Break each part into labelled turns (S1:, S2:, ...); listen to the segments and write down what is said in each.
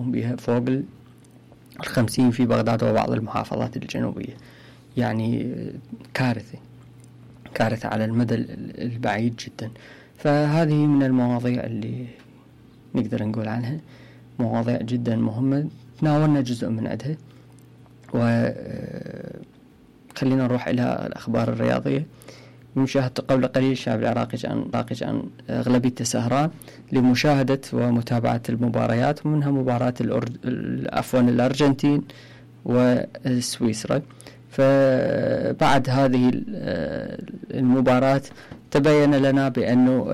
S1: يكون بها فوق 50 في بغداد وبعض المحافظات الجنوبية. يعني كارثة على المدى البعيد جدا. فهذه من المواضيع اللي نقدر نقول عنها مواضيع جدا مهمة، تناولنا جزء من عدها. وخلينا نروح إلى الأخبار الرياضية. مشاهدة قبل قليل الشعب العراقي كان أغلبيته سهران لمشاهدة ومتابعة المباريات، ومنها مباراة الأرجنتين وسويسرا. فبعد هذه المباراة تبين لنا بأنه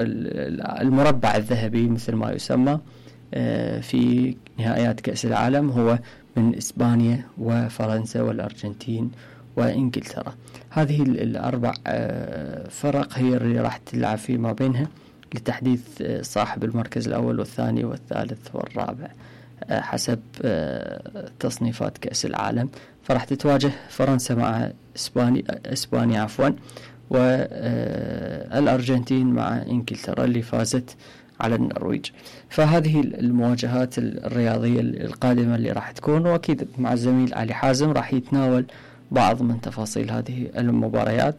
S1: المربع الذهبي مثل ما يسمى في نهائيات كأس العالم هو من إسبانيا وفرنسا والأرجنتين وإنجلترا. هذه الأربع فرق هي اللي راح تلعب فيما بينها لتحديد صاحب المركز الأول والثاني والثالث والرابع حسب تصنيفات كأس العالم. فراح تتواجه فرنسا مع إسبانيا والأرجنتين مع إنجلترا اللي فازت على النرويج. فهذه المواجهات الرياضية القادمة اللي راح تكون، وأكيد مع الزميل علي حازم راح يتناول بعض من تفاصيل هذه المباريات.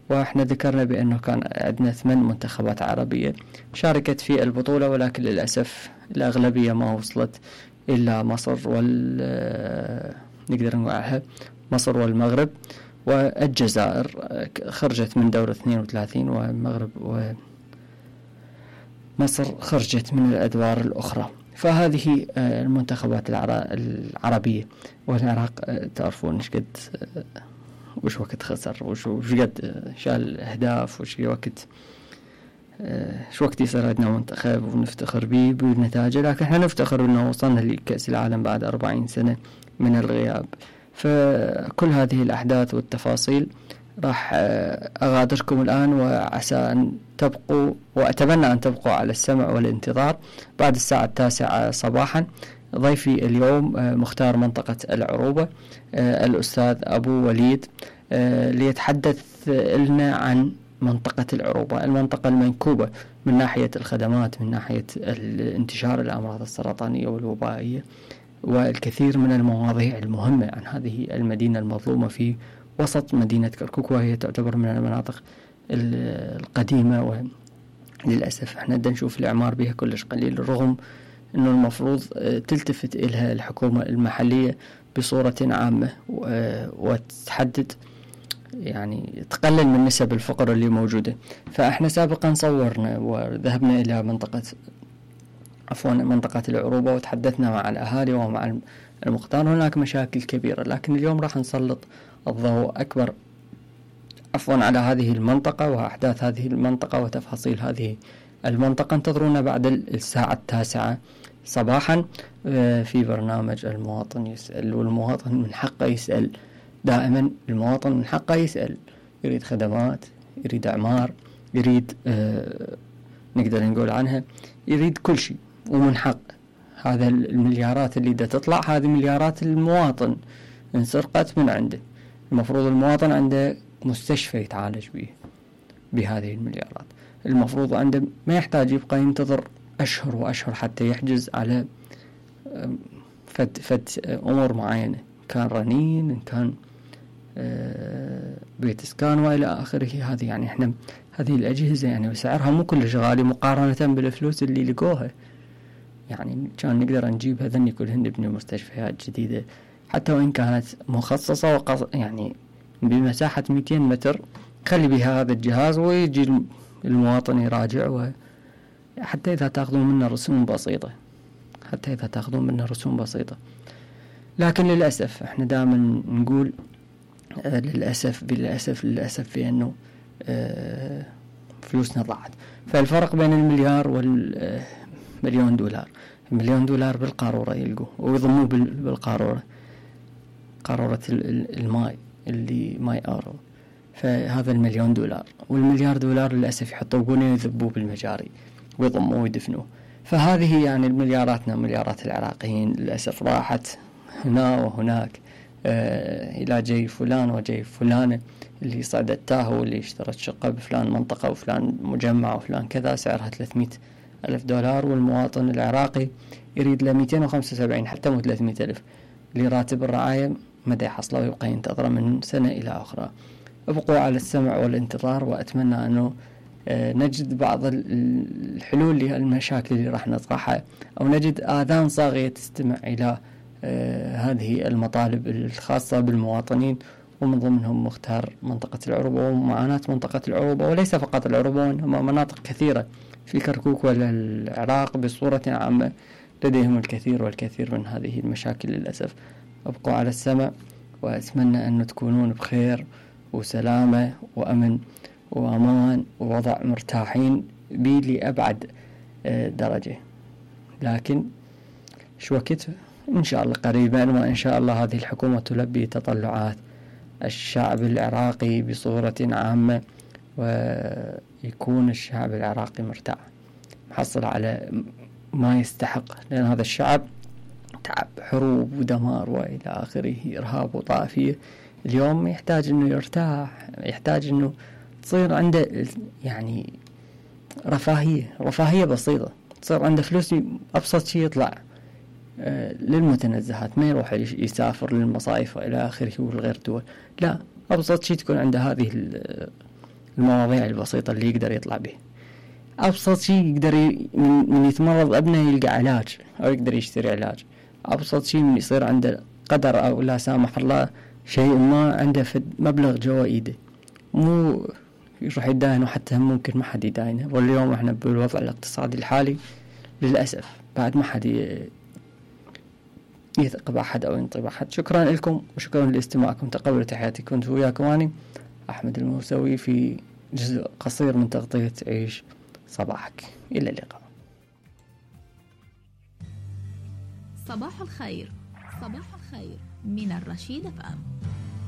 S1: وإحنا ذكرنا بأنه كان عندنا 8 منتخبات عربية شاركت في البطولة، ولكن للأسف الأغلبية ما وصلت إلا مصر نقدر نقولها مصر والمغرب والجزائر خرجت من دور 32، والمغرب ومصر خرجت من الأدوار الأخرى. فهذه المنتخبات العربية. والعراق تعرفون وش وقت خسر، وش قد شال أهداف، وش وقت يصير عندنا منتخب ونفتخر به بالنتائج. لكن احنا نفتخر انه وصلنا لكأس العالم بعد 40 سنة من الغياب. فكل هذه الأحداث والتفاصيل راح أغادركم الآن، وعسى أن تبقوا، وأتمنى أن تبقوا على السمع والانتظار. بعد الساعة 9 صباحا ضيفي اليوم مختار منطقة العروبة الأستاذ أبو وليد ليتحدث لنا عن منطقة العروبة، المنطقة المنكوبة من ناحية الخدمات، من ناحية انتشار الأمراض السرطانية والوبائية، والكثير من المواضيع المهمة عن هذه المدينة المظلومة في وسط مدينة كركوك، وهي تعتبر من المناطق القديمة. وللأسف احنا نشوف الإعمار بها كلش قليل، رغم أنه المفروض تلتفت إلها الحكومة المحلية بصورة عامة وتحدد يعني تقلل من نسب الفقر اللي موجودة. فاحنا سابقا صورنا وذهبنا إلى منطقة العروبة وتحدثنا مع الأهالي ومع المقطار. هناك مشاكل كبيرة، لكن اليوم راح نسلط الضوء أكبر على هذه المنطقة وأحداث هذه المنطقة وتفاصيل هذه المنطقة. انتظرونا بعد الساعة 9 صباحا في برنامج المواطن يسأل. والمواطن من حقه يسأل دائما، المواطن من حقه يسأل، يريد خدمات، يريد أعمار، يريد نقدر نقول عنها يريد كل شيء، ومن حق. هذا المليارات اللي دا تطلع هذه مليارات المواطن انسرقت من عنده. المفروض المواطن عنده مستشفى يتعالج به بهذه المليارات. المفروض عنده ما يحتاج يبقى ينتظر أشهر وأشهر حتى يحجز على فد أمور معينة، كان رنين، إن كان بيت اسكان وإلى آخره. هذه يعني احنا هذه الأجهزة يعني وسعرها مو كلش غالي مقارنة بالفلوس اللي لقوها. يعني كان نقدر نجيب هذني كلهن نبني مستشفيات جديدة، حتى وإن كانت مخصصة يعني بمساحة 200 متر، خلي بها هذا الجهاز ويجي المواطن يراجع. حتى إذا تأخذون منه رسوم بسيطة. لكن للأسف احنا دائما نقول للأسف في أنه فلوسنا ضاعت. فالفرق بين المليار والمليون دولار، $1,000,000 بالقارورة يلقوه ويضموه بالقارورة، قارورة الماء اللي ماي آرو. فهذا $1,000,000 والمليار دولار للأسف يحطوه بنيه يذبوه بالمجاري ويضموه ويدفنوه. فهذه يعني مليارات العراقيين للأسف راحت هنا وهناك، إلى جاي فلان وجاي فلانة اللي صعدت تاهو واللي اشترت شقة بفلان منطقة وفلان مجمع وفلان كذا سعرها $300,000. والمواطن العراقي يريد له 275 حتى مو 300 ألف لراتب الرعاية، مدى يحصله ويبقى ينتظره من سنة إلى أخرى. ابقوا على السمع والانتظار، وأتمنى أنه نجد بعض الحلول للمشاكل اللي راح نطرحها، أو نجد آذان صاغية تستمع إلى هذه المطالب الخاصة بالمواطنين، ومن ضمنهم مختار منطقة العروبة ومعاناة منطقة العروبة، وليس فقط العروبة وإنما مناطق كثيرة في كركوك والعراق بصورة عامة لديهم الكثير والكثير من هذه المشاكل للأسف. أبقوا على السمع، وأتمنى أن تكونون بخير وسلامة وأمن وأمان ووضع مرتاحين بي لأبعد درجة. لكن شو وقت إن شاء الله قريبا، وإن شاء الله هذه الحكومة تلبي تطلعات الشعب العراقي بصورة عامة، ويكون الشعب العراقي مرتاح محصل على ما يستحق، لأن هذا الشعب تعب حروب ودمار وإلى آخره، إرهاب وطائفية. اليوم يحتاج أنه يرتاح، يحتاج أنه تصير عنده يعني رفاهية بسيطة، تصير عنده فلوس، أبسط شيء يطلع للمتنزهات، ما يروح يسافر للمصايف وإلى آخره والغير دول، لا، أبسط شيء تكون عنده هذه المواضيع البسيطة اللي يقدر يطلع به. أبسط شيء يقدر من يتمرض ابنه يلقى علاج أو يقدر يشتري علاج. أبسط شيء من يصير عنده قدر أو لا سامح الله شيء ما عنده في مبلغ جوا إيده، مو يروح يداينه، حتى ممكن ما حد يداينه. واليوم احنا بالوضع الاقتصادي الحالي للأسف بعد ما حد يثق بأحد أو ينطي بأحد. شكرا لكم وشكرا لاستماعكم، تقبلوا تحياتي. كنت وياكم أنا أحمد الموسوي في جزء قصير من تغطية عيش صباحك. إلى اللقاء.
S2: صباح الخير، صباح الخير من الرشيد FM.